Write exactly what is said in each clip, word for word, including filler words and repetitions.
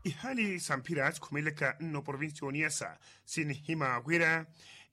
Ihaali sa mphira sikhumelelaka nno provincia ya oniyasa, sinihima wira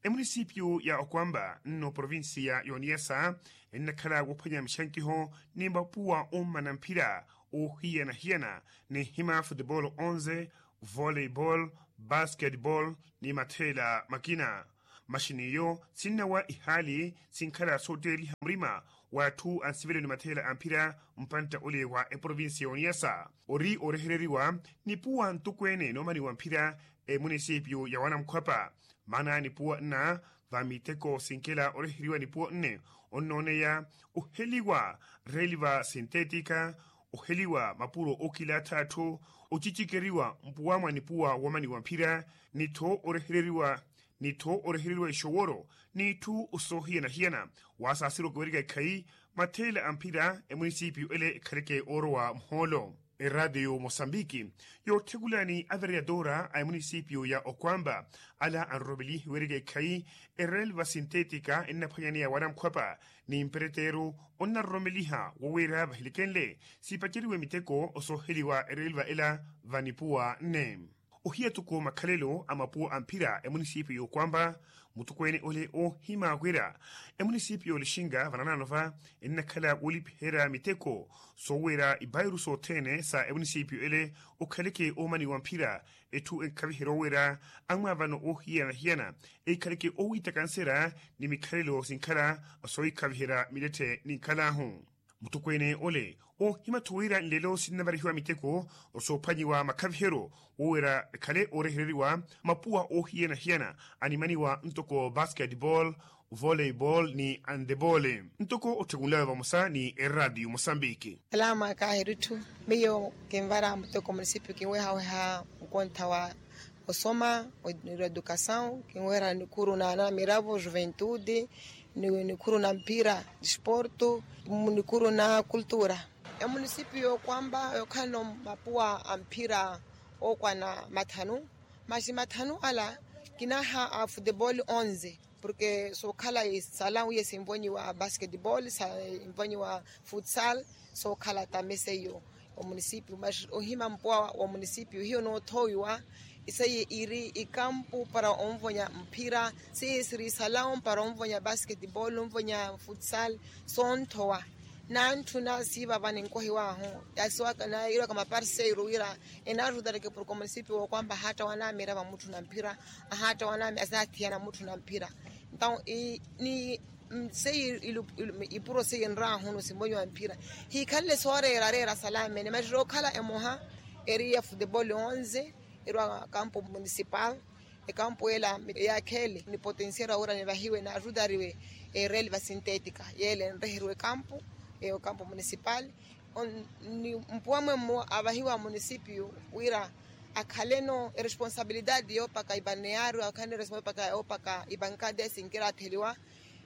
emunisipiyu ya okwamba nno provincia ya oniyasa ennakhala wophwanya mixankiho ni mapuwa ommana mphira oohiyana-hiyana, ninhima futebolo onze, volleyball, basketball, ni matheela makina. Maxini iyo sinnawa ihaali sinkhala sootteliha murima w'atthu a nsivelo ni matheela a mphira mpantta ole wa eprovincia ya oniyasa. Ori orehereriwa nipuwa ntokweene noomaniwa mphira emunisipiyu ya wanamkhwapa. Maana nipuwa nna va miteko sinkela oreheriwa nipuwa nne onnooneya oheliwa relva sintetika, oheliwa mapuro ookilaatha atthu, ocicikeriwa mpuwa mwa nipuwa woomaniwa mphira, nittho orehereriwa nittho orehereriwa ixoworo n'itthu soohiyana-hiyana. Wasaasirwa kiwerika ekhayi matheela a mphira emunisipiyu ele ekhaleke oorowa muhoolo. Eraatiyo mosambiki yootthekulani avereyatora a emunisipiyu ya okwamba ala anroromelihe werika ekhayi erelva sintetika ennaphwanyaneya wanamkhwapa ni mpereteru onnaroromeliha wowira vahilikenle sipaceriwe miteko osooheliwa erelva ela vanipuwa nne. Ohiya toko makhalelo a mapuwa a mphira emunisipiyu yookwamba mutokweene ole oohima wira emunisipiyu yoolixinga vananaano va ennakhala woolipiherya miteko sooweera ipairu sothene sa emunisipiyu ele okhaleke oomaniwa mphira. Etthu enkhaviherya oweera amwaavano oohiyana-hiyana ekhaleke oowitakansera ni mikhalelo sinkhala soohikhaviherya miletthe ninkhal'ahu. Mutokweene ole oohima-tho wira nlelo sinnavarihiwa miteko osoophwanyiwa makhaviheryo woowira ekhale oorehereriwa mapuwa oohiyana-hiyana animaniwa ntoko basketball, volleyball ni andebole. Ntoko otthukunlawe vamosa ni eraatiyo mosambiki. Alama kaahiritthu miyo kinvara muteko munisipio kinwehaweha nkontha wa osoma, edukasaw kinweherya nikhuru na anamiravo juventude, nikhuru na mpira disporto, nikhuru na kultura. Emunisipio yookwamba yookhalano mapuwa a mphira ookwana mathanu, maxi mathanu ala kinaha a futebol onze, porke sookhala isala wiye sinvonyiwa basketbol sinvonyiwa futsal, sookhala tamese iyo omunisipio maxi ohima mpuwa wa munisipio hiyo noothoowiwa. Isaiye iri ikampu para onvonya mphira, seiye siri isalawo para onvonya basketbol onvonya futsal, soonthowa nantthuna siivava ninkohiwahu. Yasiwaka nairwaka maparseiru wira enaarutareke porke omunisipio wookwamba ahaatta wanaamira vamutthu na mphira, ahaatta wanaamira asinathiyana mutthu na mphira. Entaw ni seiye ipuro seiye nraahunu simbonyiwa mphira hiikhanle sooreera areera salamene maxi rookhala emoha eri ya futebol onze, erwa kampu munisipal. Ekampu ela yakhele ni potensiero awira nivahiwe naarutariwe erelva sintetika yele nreheriwe kampu eyo kampu munisipal. Ni mpuwa mwemmo avahiwa munisipio wira akhaleno eresponsabilidade yoopaka ibaneyario akhaleno eresponsabilidade yoopaka ibankade sinkiratheliwa.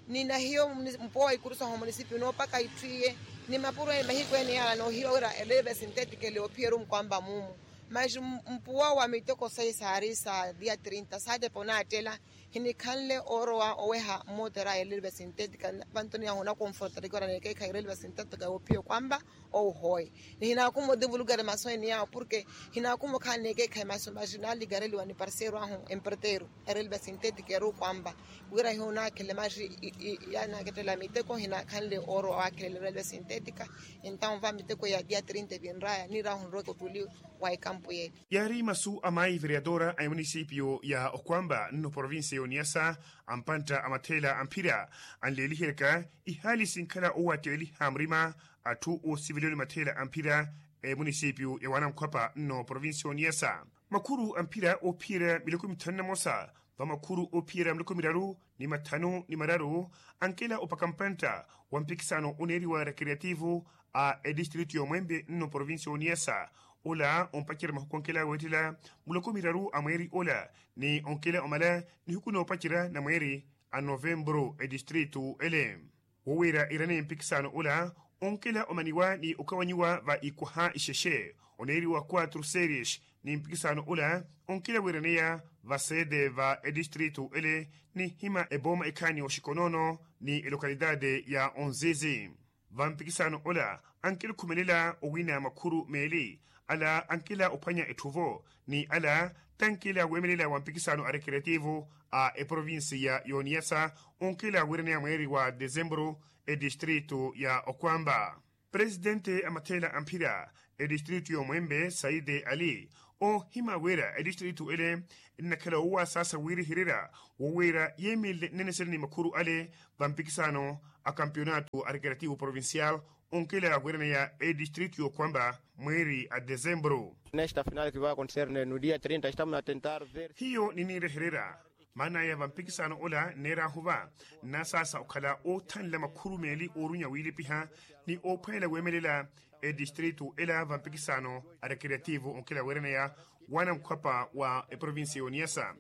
Ni nahiyo mpuwa wa ikurusaho munisipio noopaka itthu iye ni mapuro ene mahiku ene yaala noohiwa wira eleve sintetika ele oophiyeru nkwamba mumu. Maxi mpuwa wa miteko sayi saari sa dia trinta saatepa onaattela hinikhanle oorowa oweha mmootera a elelva sintetika. Vanto niyahu onakonfortariki wira neekeekhayi erelva sintetika yoophiya okwamba ouhoye. Ni hinaakuma otivulukari masu ene yahu porke hinaakuma okhala neekeekhayi masu maxi naalikareliwa ni parseiro ahu emperteiro. Erelva sintetika eri okwamba wira hiyo onaakhele maxi yanaakettela miteko hinakhanle oorowa waakhelela erelva sintetika. Entaw va miteko ya dia trinta evinraya niirahu nrowa ekotuli wa ekampu yeli. Yaari masu a mayi vereyatora a emunisipio ya okwamba nno provincia ya oniyasa, ampantta a matheela a mphira anleeliheryaka ihaali sinkhala owatteliha murima atthu oosiveliwa ni matheela a mphira a emunisipio ya wanankhwapa nno provincia ya oniyasa. Makhuru a mphira oophiyerya miloko mithanu na mosa va makhuru oophiyerya miloko miraru ni mathanu ni mararu ankela opaka mpantta wa mpikisano oneeriwa recreativo a edistritu y'omwembe nno provincia y'oniyasa. Ola ompacerya mahuku onkela weettela muloko miraru a mweeri ola ni onkela omala nihuku noopacerya na mweeri a novembru edistritu ele. Wowiira irane mpikisano ola onkela omaniwa ni okawanyiwa va ikwaha ixexe oneeriwa quatro series ni mpikisano ola onkela wiiraneya va sede va edistritu ele ni hima ebooma ekhaani oxikonoono ni elokalitaate ya onzizi. vampikisano ola ankilukhumelela owina makhuru meeli, ala ankila ophwanya etthu-vo ni ala tankila weemelela wa mpikisano a rekeretivu a eprovinsiya y'oniyasa onkila wiiraneya mweeri wa desemburu. Etistritu ya okwamba presidente a matheela a mphira etistritu y'omwembe saide ali, ohima wira etistritu ele nnakhala owasaasa wiirihererya wowiira yeemelele nnene sene ni makhuru ale va mpikisano a kampionato a rekerativo provincial onkela wiiraneya etistritu y'okwamba mweeri a desemburu. Nesta final ki va acontecer no dia trinta estamos a tentar ver. Hiyo niniirehererya maanaya va mpikisano ola nneerahu va nnasaasa okhala oothanla makhuru meeli oorunya wiilipiha ni oophwelela weemelela etistritu ela va mpikisano a rekeretivo onkela wiiraneya wana mukhwapa wa eprovinsiya y'oniyasa.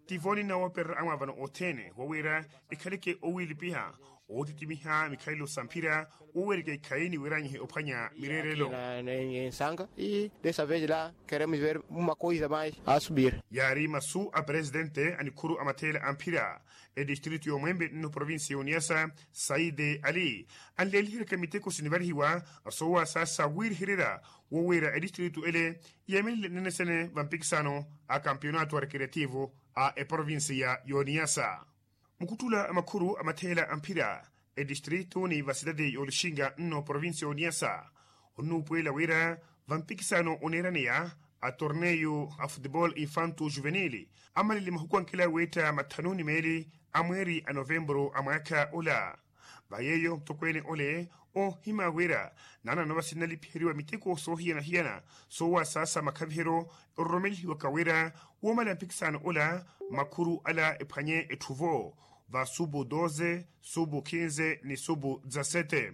Tivo ninna woopererya amwaavano othene wowiira ekhaleke owiilipiha ootitimiha mikhalelo sa mphira woweereke ikhayi ni wiiranyihe ophwanya mireerelo. Ensanga i desa vez la keremos ver uma coisa mais a subir. Yaari masu a presidente a nikhuru a matheela a mphira etistritu y'omwembe nno provinsiya y'oniyasa saide ali anleeliheryaka miteko sinivalihiwa soowasaasa wiirihererya wowiira etistritu ele yeemelele nnene sene va mpikisano a kampionato a rekeretivo a eprovinsiya y'oniyasa. Mukhuttula a makhuru a matheela a mphira etistritu ni vasitati y'olixinga nno provinsiya y'oniyasa onnuupuwela wira va mpikisano oneeraneya a torneio a futebol infanto juvenil amalele mahuku ankila weetta mathanu ni meeli a mweeri a novemburu a mwaakha ola. Va yeeyo mutokweene ole oohima wira naanano vasi nnalipiheriwa miteko soohiyana-hiyana soowasaasa makhaviheryo ororomelihiwaka wira woomala mpikisano ola makhuru ala ephwanye etthu-vo va subu doze, subu kinze ni subu dezasete.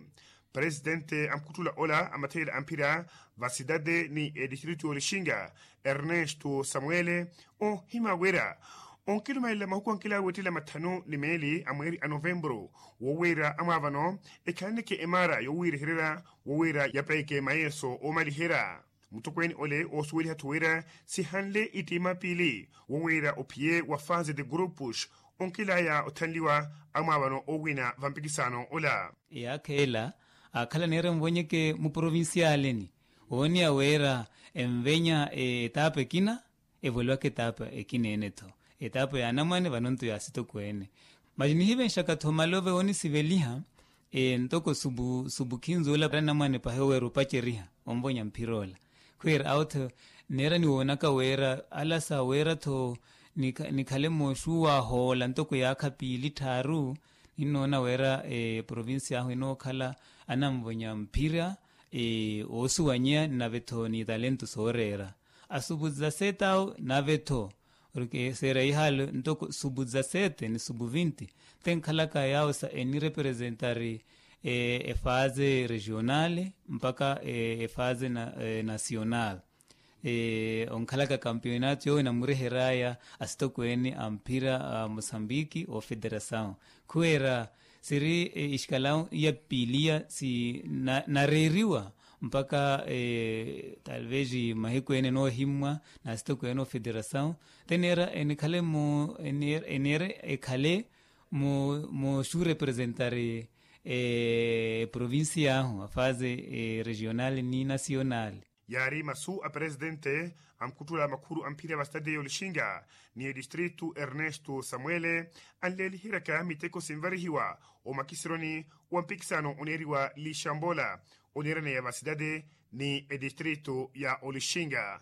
Presidente a mukhuttula ola a matheela a mphira va sitati ni etistritu y'olixinga ernesto samuele oohima wira onkilumalela mahuku ankila weettela mathanu ni meeli a mweeri a novemburu wowiira amwaavano ekhalaneke emaara yowiirehererya wowiira yapeeke mayeeso oomaliherya. Mutokweene ole oosuweliha-tho wira sihanle ittiima piili wowiira ophiye wa fase de grupos onkilaya othanliwa amwaavano oowina va mpikisano ola. Eyaakha ela aakhala neera envonyeke muprovinsiyaleni ooniya wira envenya etaapa ekina evoliwaka etaapa ekina ene-tho etaapa ya anamwane vanonto ya asitokweene. Masi nihivenxaka-tho malove oonisiveliha ntoko subu subu khinzula anamwane pahi oweera opaceriha onvonya mphira ola khwiira awo-tho neera niwoonaka wira ala sa wira-tho nikhale mooxuwaha ola ntoko yaakha piili tthaaru. Ninnoona wira eprovincia ahu enookhala ananvonya mphira oosuwanyeya nave-tho ni talento sooreera asubu za sete awo nave-tho. Seera ihaalo ntoko subu za sete ni subu vinti tenkhalaka yaawo sa enirepresentari efase regionale mpaka efase nacional. Onkhalaka kampionato yoowo enamureheraya asitokweene a mphira a mosambiki ofederasaw khuweera siri ixikalaw iya piiliya sinareeriwa mpaka talvez mahiku ene enoohimmwa n'asitokweene ofederasaw teneera enikhale mu eneere ekhale mu muxurepresentari eprovincia ahu a fase regional ni nacional. Yaari masu a presidente a mukhuttula makhuru a mphira va sitati y'olixinga ni etistritu ernesto samuele anleeliheryaka miteko sinvarihiwa omakisironi wa mpikisano oneeriwa lixambola oneeraneya va sitati ni etistritu ya olixinga.